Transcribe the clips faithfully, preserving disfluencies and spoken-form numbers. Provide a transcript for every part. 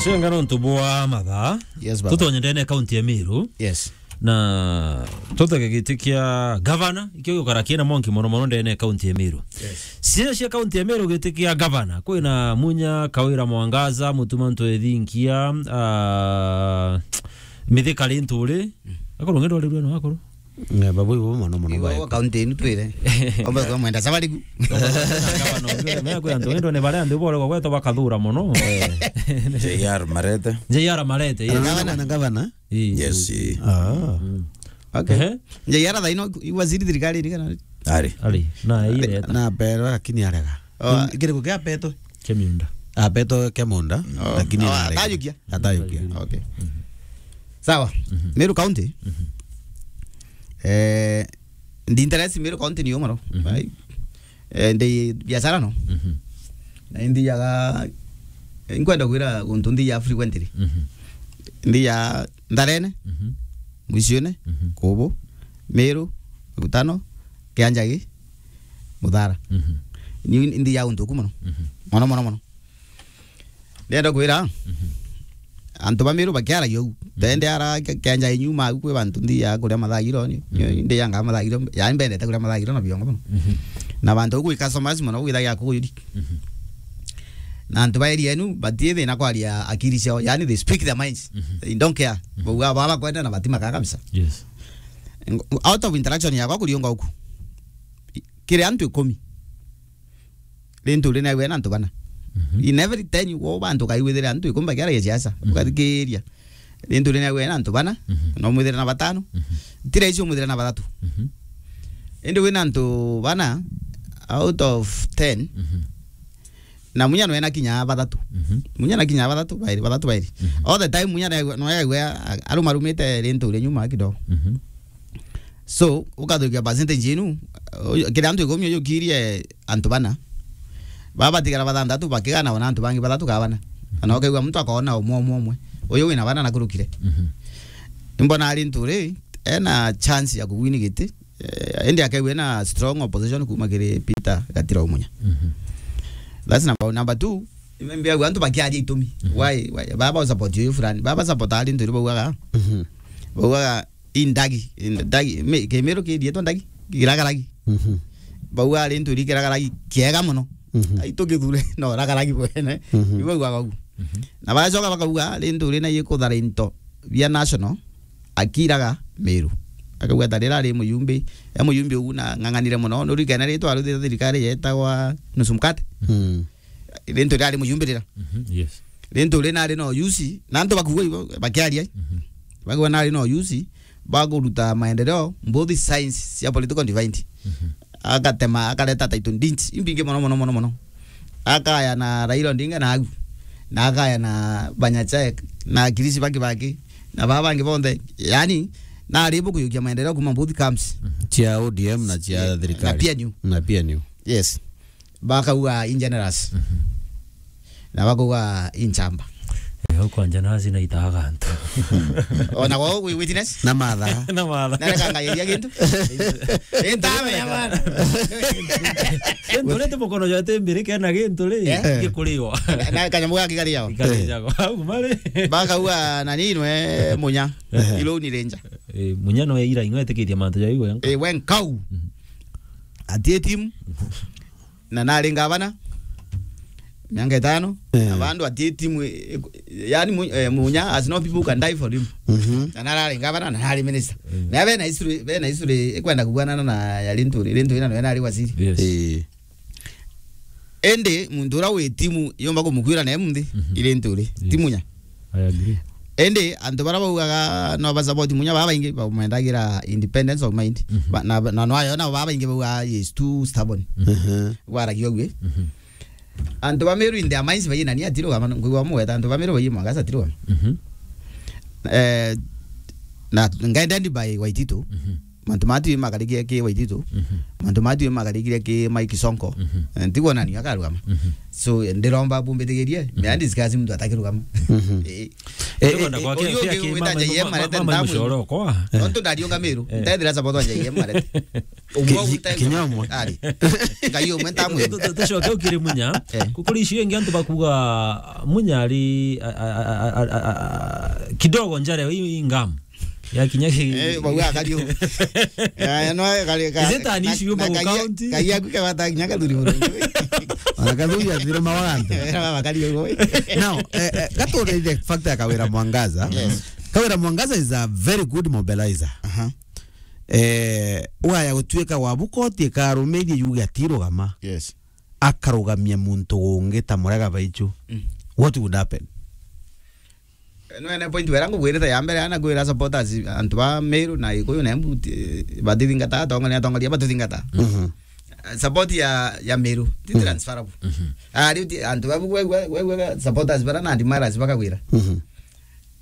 Cenga nontu bwa mathaa. Yes, baba. Tutonye ndene kaunti ya Meru. Yes. Na tutege giti kia gavana, ikio gukara kina mwanki mono mono ndene kaunti ya Meru. Yes. Cia cia kaunti ya Meru giti kia gavana, kwina Munya, Kawira Mwangaza, Mutuma Ntwethinkia, ah, Mithika Linturi. Akorwo ngendo rerwe no akorwo. Eh, babu ibo mono mono. Ibo ba kaunti inu twire. Omba kwa mwenda sabari ku. Gavana ungi, me kwa antu ngendo ne bare andu bore kwa kweto bakathura mono. Eh. J R Marete. J R Marete, yes. Gavana na gavana. Ii. Yes, ii. Ah. Mm. Okay. Ehe. J R thaino waziri thirikari ni kana? Ari. Ari. Na ile. Na pero lakini arega. Oh. Kiriku kia peto. Kemiunda. Ah, peto Kemunda, oh, lakini oh, arega. Atayukia? Atayukia. Okay. Mhm. Sawa. Mhm. Meru County. Mhm. Eh, ndi interest Meru County ni umaro. Mhm. Bai. Eh, ndi biashara no. Mhm. Na ndi yaga, eh, nkwenda kwira guntu ndi ya frequently. Mhm. Ndi ya Ndarene, mhm, Mwicione, mhm, Kubu, Meru, Rutano, Kianjagi, Muthara. Mhm. Ni ndi ya guntu ku mono. Mhm. Mono, mono, mono. Ndenda kwira, mhm, antu ba Meru bakiaragia u. Mhm. Tende ara ke-, Kianjagi nyuma u kwi bantu ndi ya kuria mathagiro ni. Mhm. Ndi yanga mathagiro, yani mbendete kuria mathagiro na biongo mono. Mhm. Na bantu ku customers mono gwithagia kuyuri. Mhm. Na antu ba area enu batii thina kwaria akiri ciao, yani they speak their minds. Mhm. They don't care. Mhm. Bauga baba kwenda na batimaka kabisa. Yes. Ng-, out of interaction yakwa kuriunga uku, kiri antu ikumi, Linturi naigwe na antu bana. Mhm. In every ten wo bantu kaigwithira antu ikumi bakiaragia siasa. Mhm. Ukathikiria. Linturi naigwe na antu bana, mhm, no mwithire na batano. Mhm. Ti rahisi umwithire na bathatu. Mhm. Indi wina antu bana out of ten, mhm, na Munya no ena kinya bathatu. Mhm. Munya na kinya bathatu, bairi, bathatu bairi. Mhm. All the time Munya no aigwe, no aigwe a-, arumarumite Linturi nyuma kidogo. Mhm. So, ukathukia percentage inu, uyu, kiri antu ikumi uyu ukirie antu bana. Baba batigara bathanthatu bakigana ona antu bangi bathatu ka bana. Kana ukaigua muntu akona umwe, umwe, umwe. Uyu wina bana na kurukire. Mhm. Imbona Linturi ena chance ya kugwini giti. Eh, indi akaigua ena strong opposition kuma kiri Peter Gatira Umunya. Mhm. That's number one. Number two, imbi aigua antu bakiaria itumi. Mhm. Why, why? Baba support uyu fulani. Baba support Linturi baugaga. Mhm. Baugaga, indagi, indagi, me, Kimiru kirietwa ndagi, kiragaragi. Mhm. Bauga Linturi kiragaragi kiega mono. Mhm. Ai tukithure no ragaragi bwene. Mhm. Iu baugaga ugu. Mhm. Na bacoka bakauga Linturi na ikuthara into bia national akiraga Meru. Akauga ta rira ari muyumbi, e muyumbi ugu na ng'ang'anire mono. Nurikene ritwa aruthite thirikari yetagwa nusu mkate. Mm. Linturi ari muyumbirira. Mhm, yes. Linturi nari no yusi, na antu bakuuga ibo, bakiaria. Mhm. Bakuuga nari no yusi, bakuruta maendeleo, both sides cia political divide. Mhm. Agatema, akareta title deeds, imbingi mono, mono, mono, mono. Akaya na Raila Odinga na agu. Na akaya na Banyachek, na Kirisi Baki Baki, na baba bangi bonthe. Yani, nari bo kuyukia maendeleo kuma both camps. Mhm. Cia O D M na cia, yeah, thirikari. Na P N U. Na P N U. Yes. Bakauga in generous. Mhm. Na bakauga in chamba. Eh, au kwanja nasi na itaga antu. Ona kwa wi-, witness? Na matha. Na matha. Na reka ngairia kintu. Intamenya bana. Kintu rete mukono jwa tembere kena kintu ri, eh, gikuriwa. Na, na kanyamu gaki kari yao. Ikari yao. Au mari. Bakauga na ninwe Munya. Eh. Ilo ni ranger. Eh, Munya no ira inwe etikiria mantu ja iwe. Eh, wenkau. Mhm. Atie timu. Na nari ngavana miaka itano, eh, na bandu atie timu, eh, yani mu-, eh, Munya has no people who can die for him. Mhm. Na narari ngavana, na nari minister. Mm. Na bena history, bena history ikwenda kugwanana na ya Linturi, Linturi na nari waziri. Yes. Eh. Indi muntu uria wi timu yomba kumukwira na munthi, mhm, i Linturi, yes, ti Munya. I agree. Indi antu bara baugaga no ba support Munya, baba baingi bamuendagira independence of mind. Mhm. Ba-, na, na no ayo nabo baba baingi baugaga he is too stubborn. Mhm. Gwaragia ugue. Mhm. Antu ba Meru in their minds baina ni atiru gama ngwa mugeta antu ba Meru baina magasa atiru gama. Mhm. Eh, na guided by Waititu. Mhm. Mantu matu makarikia ki Waititu. Mhm. Mantu matu makarikia ki Mike Sonko. Mhm. Eh, ntikwona ni akarugama. Mhm. So, ndiromba bumbitigirie, me a discuss muntu atakirugama. Mhm. Eh. Eh, eh, kwenda eh, kwa kia, kia ki mama, mama, mama, mama Mucoro kwa. Eh. Nontu ndariunga Miru, eh, ndethira support wa J M arete. Umwe ki-, uta kinya umwe. Ari. Ngai umwe ntamwira. Tu-, tu-, tucoke ukiri Munya. Eh. Kukuri icio ingi antu bakuga Munya ari, a, a, kidogo njare i, i ngam. Ya kinya ki- Eh, bau akari uguo. Ya, ya, no, kari, ka-, is it an na, issue na Magu Kagia, County? Kagia ku kebata kinya kathuri buru. Ona kathuri athire mawagante. Era baba kari uguo. Now, eh, eh, gatureithie factor ya Kawira Mwangaza. Yes. Kawira Mwangaza is a very good mobilizer. Aha. Eh, waya gutuika wa bukoti ikarumirie yuge atirugama. Yes. Akarugamia muntu ungi ta Murega Baichu. Mm. What would happen? No, ene point wera ngugwirite ya mbere, ana gwira supporters, antu ba Meru na Gikuyu na Embu, ti-, batithingata, atongoria, atongoria batithingata. Mhm. Eh, support ya, ya Meru, ti, mhm, transferable. Mhm. Ari uti, antu babu gwe, gwe, gwe, gwe, supporters bara na admirers bakagwira. Mhm.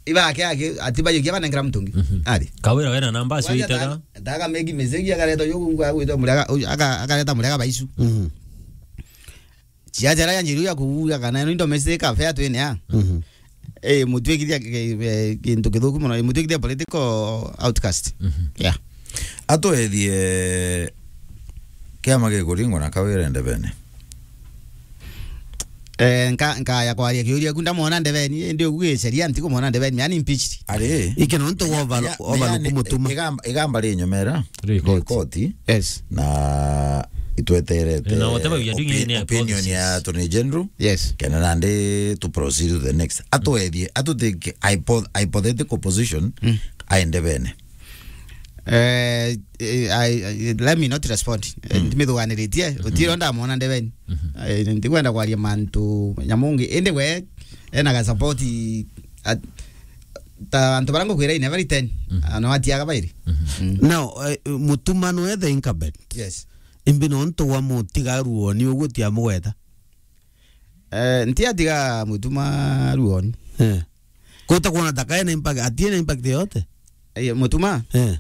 Ibake ake, ati bayo kia banengera mutungi. Mhm. Ari. Kawira wena namba acio. Kwanza itega. Ta-, taka megi message akareta yo gwa gwita Murega, aka-, akareta Murega Baichu. Mhm. Ciacara ya njiru ya kuuga kana ino indo mesi ka fair twene a. Mhm. Eh, mutwikithia ki-, eh, kintu kithuku muno, mutwikithia political outcast. Mhm. Yeah. Atwethie kiama gikuringwa na Kawira ndebene. Eh, nka-, nkaya kwaria kiuria ku ndamwona ndebeni, indi ugu giceria ntikumwona ndebeni, yani impeached. Ari. Ike nontu ya, wa ya, overlook ya, mutuma. Igamba, igamba ri nyomera. Ri koti. Ri koti. Yes. Na itweterete, na whatever we are doing opi-, in our opinion ya policies. Attorney General. Yes. Kena nandi to proceed to the next. Atwethie, atutike hypo-, hypothetical position, mm, aende bene. Eh, eh, I, I, let me not respond. Eh, mm, ndimithuganiritie, mm-hmm, utiro ndamwona ndebeni. Mm-hmm. Eh, ndikwenda kwaria mantu nyamungi. Indi we, ena ga support at-, ta antu bara ngukwira in every ten, mm, ano atiaga bairi. Mm-hmm. Mm. Now, eh, mutuma no ethe incumbent. Yes. Imbi nontu wa mutigaru oni uguo tiamugweta. Eh, ntiatiga mutuma ruoni. Eh. Kuta kuona ta kaena impact, atiena impact yote. Eh, mutuma? Eh.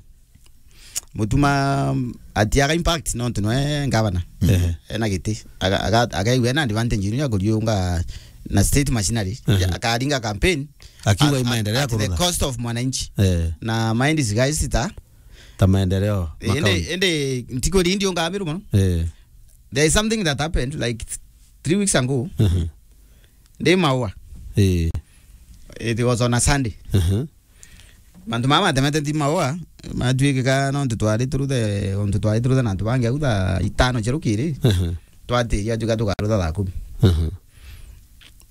Mutuma, mm, atiaga impact nontu nwe ngavana. Eh. Ena giti. Aga-, aga-, agaigua ena advantage ino ya kuriunga na state machinery. Eh. Akaringa campaign akiuga at, i maendeleo at, at the kurutha cost of mwananchi. Eh. Na mind is guys ta ta maendeleo. Indi, makaunti. Indi ntikwiri indi unga Meru muno. Eh. There is something that happened like th-, three weeks ago. Mhm. Ndi Maua. Eh. It was on a Sunday. Mhm. Mantu mama matemete nti Maua, matwikika nontu twari turuthe, ontu twari turuthe na antu bangi au thaa itano cia rukiri. Mhm. Twatiria tuka tukarutha thaa kumi. Mhm.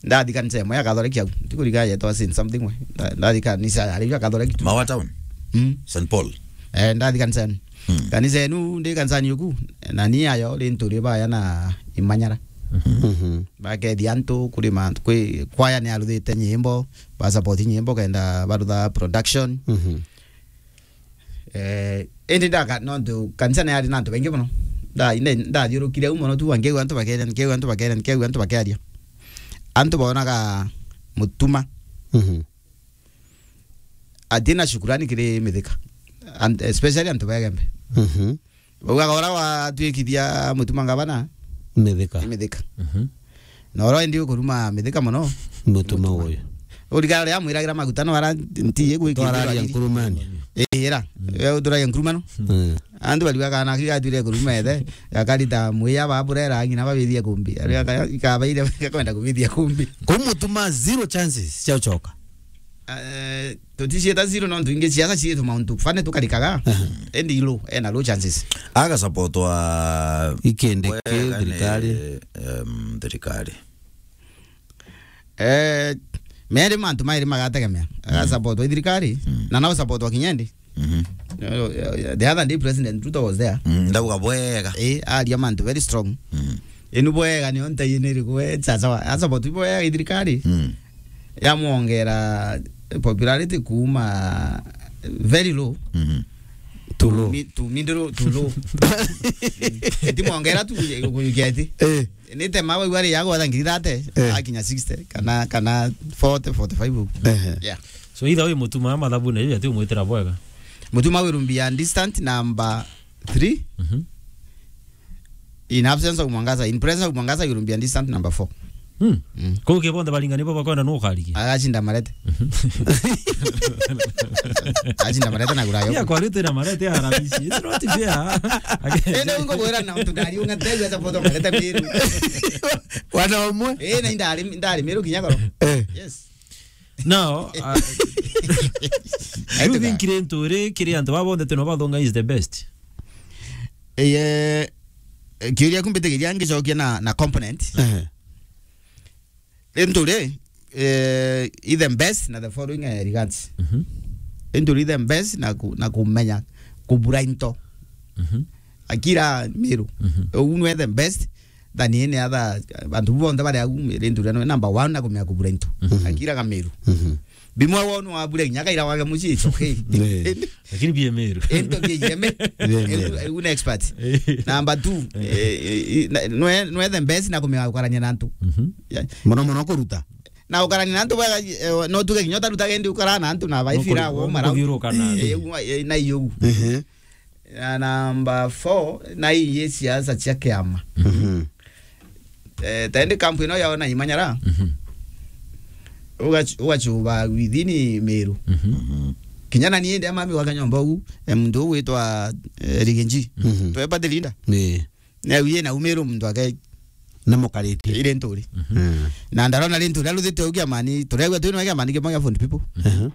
Ndathi kanisa imwe ya Catholic au. Ntikuriga yetwa Saint something we. Nda-, ndathi kanisa ya riu ya Catholic tu. Maua Town? Mm. Saint Paul? Eh, ndathi kanisani. Mm. Kanisa enu, ndi kanisani yuku, na ni ayo, ri nturi baya na imanyara. Mhm. Bakethia antu, kuri mantu, kwi, kwaya ni aruthite nyimbo, ba support nyimbo, kenda barutha production. Mhm. Eh, indi ndaka-, nontu kanisa ni yari na antu baingi mono. Nda-, inde-, ndathiurukire au mono tu, nkiigua antu bakeria, nkiigua antu bakeria, nkiigua antu bakeria. Antu bonaga mutuma. Mhm. Atina shukurani kiri Mithika. And especially antu ba Igembe. Mhm. Baugaga ura watwikithia mutuma ngavana? Mithika. Ni Mithika. Mhm. Na ura indi ukuruma Mithika mono? Mutuma uyu. Urigara ria mwiragira maguta no ara nti igwikithirwa. Twararia nkurumani. Ira. Mm. We uturagia nkurumano? Mm. Antu bariuga kana akiga atwire kuruma ethe, gakarita mwiya ba burera ngina babithie kumbi. Ari aka-, ikabaire gakwenda kubithia kumbi. Kumutuma zero chances cia ucoka. Eh, tuticieta zero nontu ingi ciaca ciitu mauntu fane tukarikaga. Aha. Endi low, ena low chances. Agasupportwa ikindi ki wega ni, thirikari? Em, thirikari. Eh, meri mantu mairi magategemea. Mm. Agasupportwa i thirikari, mm, na nau supportwa kinyendi. Mhm. The other day President Ruto was there. Mm, ndauga bwega. Eh, aria mantu very strong. Mm. Inu bwega ni onta yini iriku we, sasa wa, asa botu bwega i thirikari. Mm. Yamwongera popularity kuma very low. Mhm. To low. Mi-, to middle, to low. Eti mwongera tu kuyuketi. Eh. Ni tema bau ari ya gwatha ngiri thirty, eh, akinya sixty, kana, kana forty, forty-five ugu. Ehe. Yeah. So either way mutuma mathabune, ati umwitira bwega. Mutuma Wirumbi ya distant number three. Mhm. In absence of Mwangaza, in presence of Mwangaza, Wirumbi ya distant number four. Hmm. Mm. Kwa hiyo kibonde balingani bo bakwenda no kariki. Agashinda marete. Mhm. Agashinda marete na gurayo. Ya kwa rite na marete ya Arabisi. It's not fair. Ende ungo bwera na mtu gari unga tegu esa poto marete miru. Wana omwe? Eh, na indari, indari miru kinyakoro. Eh. Yes. Now, uh, you think Linturi kiri antu baba bonthe teno bathonga is the best? Eh, kiuria kumbitigiria ngicokia na, na component. Eh. Linturi, eh, is the best na the following, eh, regards. Mhm. Linturi is the best na ku-, na kumenya kubura into. Mhm. Akira miru. Mhm. Uu nwe the best than any other, bantu bonthe bari au, Linturi nwe number one na kumenya kubura into. Mhm. Akira ga miru. Mhm. Bimwe wonu wabure kinya kaira wake mucii, it's okay. Eh. Lakini bia miru. Into bia yeme. Bia miru. Uu ni expert. Eh. Number two, eh, eh, na-, nwe, nwe the best na kumenya gukarania na antu. Mhm. Yeah. Mono mono kuruta. Na ukarania na antu bwega, eh, no tuge kinya utaruta gendi ukara na antu na baifira wo mara. Kuthiuruka na. Eh, uu, eh, na iyo. Mhm. Na number four, na ii siasa cia kiama. Mhm. Eh, tendi kampu ino yao na imanyara. Mhm. Ugac-, ugacuba within miru. Mhm. Kinya na niende amami wa kanyomba uu, eh, muntu uu witwa, eh, Riginji. Mhm. Tweba the leader. Ni. Na uye na umiru muntu ake na mukariti. Ile nturi. Mhm. Mm. Na ndarona Linturi aruthite ugia mani, turegwa twino ugia mani kimwe gia fund people. Mhm.